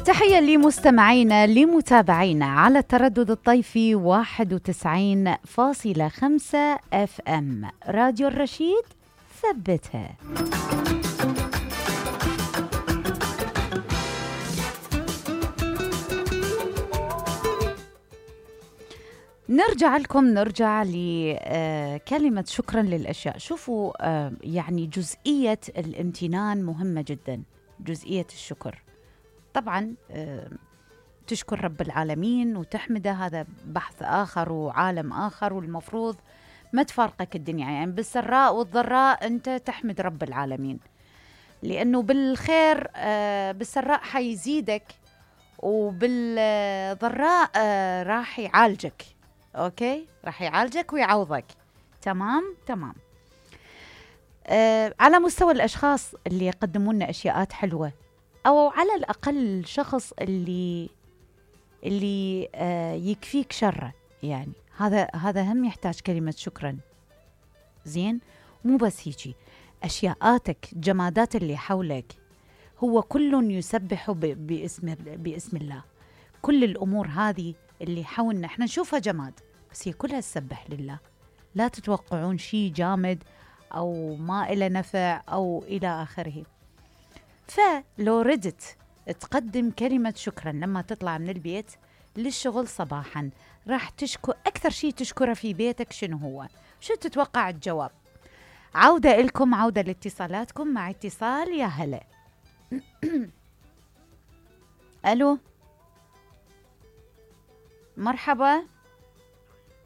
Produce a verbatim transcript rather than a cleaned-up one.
تحية لمستمعينا لمتابعينا على التردد الطيفي واحد وتسعين فاصلة خمسة اف ام راديو الرشيد، ثبتها. نرجع لكم نرجع لكلمة شكرا للأشياء. شوفوا يعني جزئية الامتنان مهمة جدا، جزئية الشكر. طبعا تشكر رب العالمين وتحمده، هذا بحث آخر وعالم آخر، والمفروض ما تفارقك الدنيا، يعني بالسراء والضراء أنت تحمد رب العالمين، لأنه بالخير بالسراء حيزيدك، وبالضراء راح يعالجك. أوكي، راح يعالجك ويعوضك. تمام تمام. على مستوى الأشخاص اللي يقدمون لنا أشياءات حلوة، أو على الأقل الشخص اللي اللي آه يكفيك شره، يعني هذا هذا هم يحتاج كلمة شكرا. زين، مو بس هيجي، أشياءاتك، جمادات اللي حولك، هو كل يسبح باسم باسم الله. كل الأمور هذه اللي حولنا احنا نشوفها جماد، بس هي كلها تسبح لله. لا تتوقعون شيء جامد أو ما إلى نفع أو إلى آخره. فلو ردت تقدم كلمة شكرا لما تطلع من البيت للشغل صباحا، راح تشكر أكثر شيء تشكره في بيتك شنو هو؟ شو تتوقع الجواب؟ عودة لكم، عودة لاتصالاتكم. مع اتصال، يا هلا. ألو، مرحبا.